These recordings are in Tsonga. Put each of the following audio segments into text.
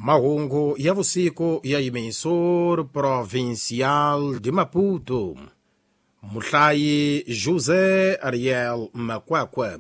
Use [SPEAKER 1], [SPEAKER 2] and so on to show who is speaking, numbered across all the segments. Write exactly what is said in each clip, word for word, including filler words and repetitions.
[SPEAKER 1] Mahungu ya vusiku ya Emissor Provincial de Maputo. Muhlayi José Ariel Makwakwa.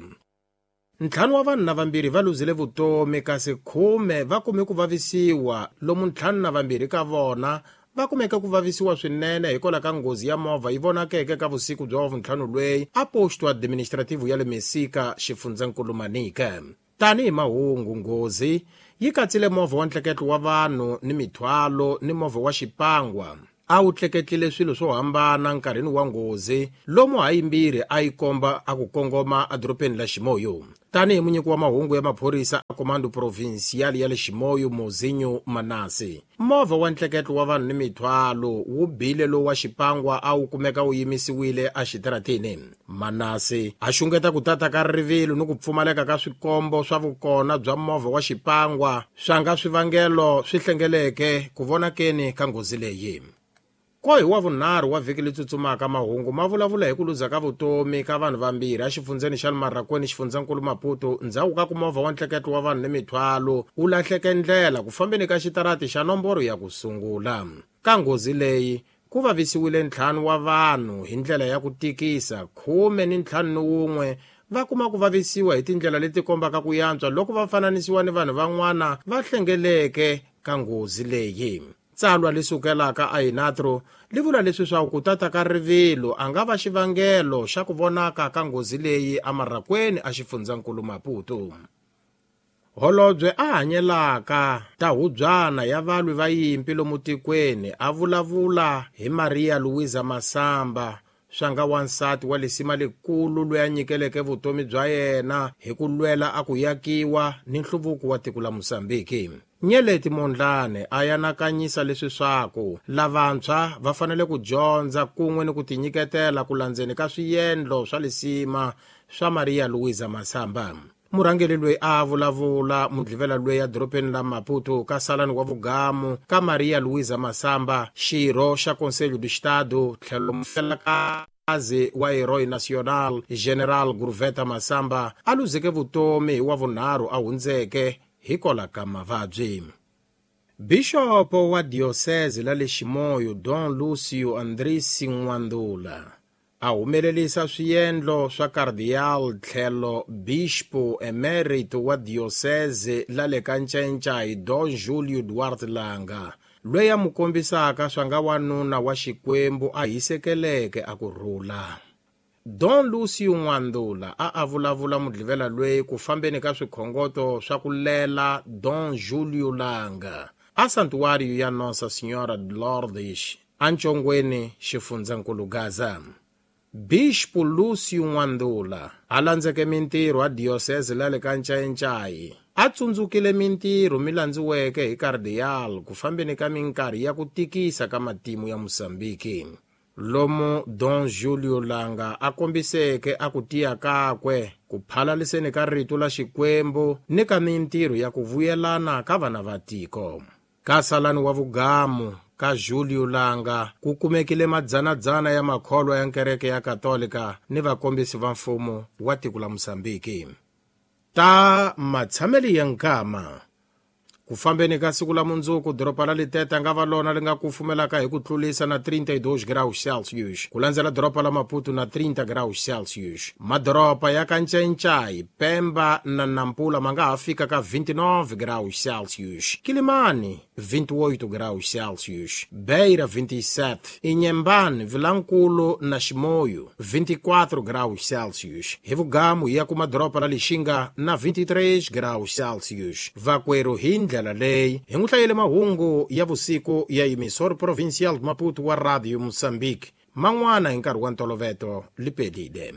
[SPEAKER 1] Ntlhanu wa vanhu na vambirhi va luzile vutomi kasi khume va kume ku vavisiwa lomu ntlhanu na vambirhi ka vona va kumeke ku vavisiwa swinene hikwalaho ka nghozi ya movha yi vonakeke ka vusiku bya wavuntlhanu lweyi a posto administrativo ya le Mesika xifundzankulu Manica. Tanihi mahungu nghozi yi katsile movha wa ntleketlo wa vanhu ni mithwalo ni movha wa xipangwa. A wu tleketlile swilo swo hambana nkarhini wa nghozi lomu hayimbirhi a yi komba a ku kongoma edorobeni la Chimoio. Tanihi munyiki wa mahungu ya maphorisa a Comando Provincial ya le Chimoio Mozinho Manase, movha wa ntleketlo wa vanhu ni mithwalo wu bile lowu wa xipangwa a wu kumeka wu yimisiwile exitarateni. Manase a xungeta ku tata ka rivilo ni ku pfumaleka ka swikombo swa vukona bya movha wa xipangwa swa nga swivangelo swi hlengeleke ku vonakeni ka nghozi leyi. Ko hi wa vunharhu wa vhiki leyi tsutsumaka mahungu ma vulavula hi ku luza ka vutomi ka vanhu vambirhi exifundzeni xa Marraquene xifundzankulu Maputo ndzhaku ka ku movha wa ntleketlo wa vanhu ni mithwalo wu lahleke ndlela ku fambeni ka xitarati xa nomboro ya ku sungula. Ka nghozi leyi ku vavisiwile ntlhanu wa vanhu hi ndlela ya ku tikisa, khume ni ntlhanu ni wun'we va kuma ku vavisiwa hi tindlela leti kombaka ku yantswa loko va fananisiwa ni vanhu van'wana va hlengeleke ka nghozi leyi. Tsalwa li sukelaka a Inatro li vula leswi swa ku tata ka rivilo a nga va xivangelo xa ku vonaka ka nghozi leyi eMarraquene a xifundzankulu Maputo. Holobye a hanyelaka ta hubyana ya valwi va yimpi lomu tikweni a vulavula hi Maria Luisa Masamba swa nga wansati wa lisima lekulu loyi a nyikeleke vutomi bya yena hi ku lwela a ku yakiwa ni nhluvuko wa tiko la Mozambique. Nyeleti Mondlane a yanakanyisa leswi swaku lavantshwa va fanele ku dyondza kun'we ni ku tinyiketela ku landzeni ka swiendlo swa lisima swa Maria Luisa Masamba. Murhangeri loyi a vulavula mudlivela loyi edorobeni la Maputo ka salani wa vugamu ka Maria Luisa Masamba, xirho xa Conselho do Estado tlhelo mufelakazi wa Herói Nacional General Gurveta Masamba a luzeke vutomi hi wa vunharhu a hundzeke hikwalaho ka mavabyi. Bixopo wa diocese la le Chimoio Dom Lucio Andrisi N'wandula a humelerisa swiendlo swa Cardeal tlhelo Bispo Emerito wa diocese la le ka Ncencai Dom Julio Duarte Langa loyi a mu kombisaka swa nga wanuna wa Xikwembu a hisekeleke a ku rhula. Dom Lucio N'wandula a a vulavula mudlivela loyi ku fambeni ka swikhongoto swa ku lela Dom Julio Langa a santuário ya Nossa Senhora de Lourdes eNtshongweni xifundzankulu Gaza. Bispo Lucio N'wandula a landzeke mintirho a diocese la le ka Ncayincai a tsundzukile mintirho mi landziweke hi Cardeal ku fambeni ka minkarhi ya ku tikisa ka matimu ya Mozambique. Lomu Dom Julio Langa a kombiseke a ku tiya kakwe ku phalaliseni ka rito la Xikwembu ni ka mintirho ya ku vuyelana ka vana va tiko. Ka salani wa vugamu ka Julio Langa ku kumekile madzanadzana ya makholwa ya nkereke ya Katolika ni vakombisi va mfumo wa tiko la Mozambique. Ta matshameli ya nkama. Ku fambeni ka siku la mundzuku doroba la Liteta nga va lona li nga kufumelaka hi ku tlulisa na trinta e dois graus Celsius ku landzela doroba la Maputo na trinta graus Celsius. Madoroba ya ka Ncencai, Pemba na Nampula ma nga ha fika ka vinte e nove graus Celsius, Quilimane vinte e oito graus Celsius, Beira vinte e sete, Inhambane, Vilankulo na Chimoio vinte e quatro graus Celsius. Hi vugamu ya kuma doroba la Lixinga na vinte e três graus Celsius. Vakwero hi ndlela leyi hi n'wi hlayele mahungu ya vusiku ya Emissor Provincial de Maputo wa Radio Mozambique man'wana hi nkarhi wa ntoloveto lipelile.